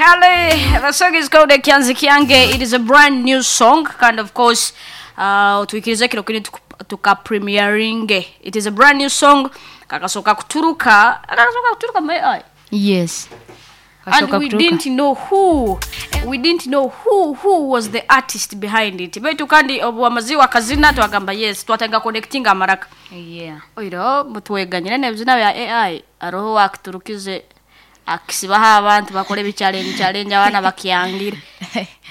Kale, the song is called Ekyanzi Kyange. It is a brand new song, and of course, tuikirize kino kini tuka premiering. It is a brand new song. Kakasoka kuturuka my eye. Yes. And Kasooka we kuturuka. didn't know who was the artist behind it. Baitu kandi obu amaziwa akazina, twagamba yes, twatanga connecting amaraka. Oiro mutweganyire n'ebizina bya AI, aroho wakiturukize akisibaho abantu bakora ebichallenge challenge, abaana bakyangire.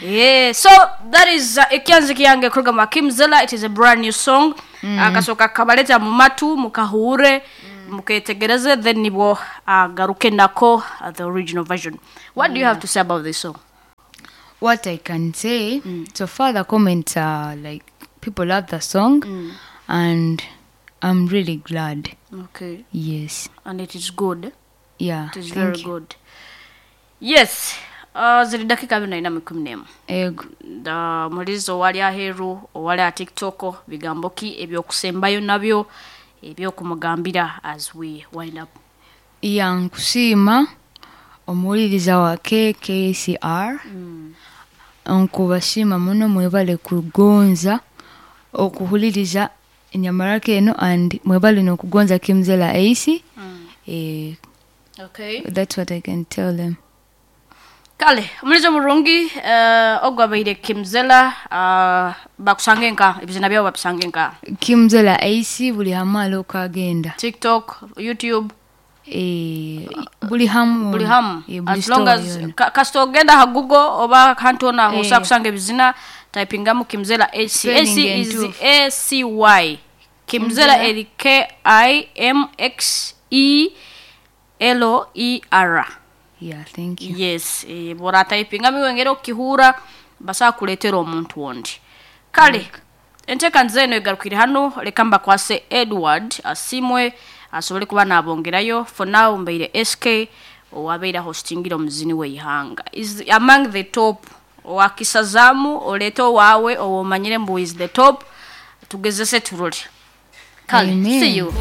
Yeah, so that is Ekyanzi Kyange kuruga mu Kimzela. It is a brand new song. Akasoka kabaleta mu matu, mukahure, muketegereze, then nibwo agaruke nako the original version. What do you have to say about this song? What I can say, so far the comments are like people love the song and I'm really glad. Yes. And it is good. Yeah. It is Thank very you. good. Yes. Ziri dakika 24 11. Ego. Da mulizo owali aheeru, owali a TikTok, bigambo ki ebyokusembayo nabyo ebyokumugambira as we wind up? Ya, nkusiima omuwuliriza wa KKCR. Nkubasiima muno, mwebale kugonza okuhuliriza enyamaraka eno and mwebale n'okugonza Kimzela Ace. Eh, that's what I can tell them. Kale, omulizo murungi, ogwabaire Kimzela. Bakusange nka ebizina byabo babisange nka? Kimzela Ace buli hamu alokagenda. TikTok, YouTube? Eh, buli hamu. Buli hamu. Eh, buli As long store as yona. Kasita ogenda ha Google oba hantu ona Eh. osobola kusanga ebizina, typingamu Kimzela AC. AC Spelling is entuufu. ACY. Kimzela eri KIMXELER. Yeah, thank you. Yes, eh, bw'oratayipingamu iwengera okukihura, basobola kuleetera omuntu ondi. Kale, enteekaniza eno egarukire hano. Leka mbakwase Edward Asimwe asobole kuba nabongerayo. For now, mbaire SK owabeire hostingira omuzini w'eihanga, is among the top. Owakisazamu oleete owaawe owomanyire mbu is the top, tugezese turole. Kale. Amen. See you.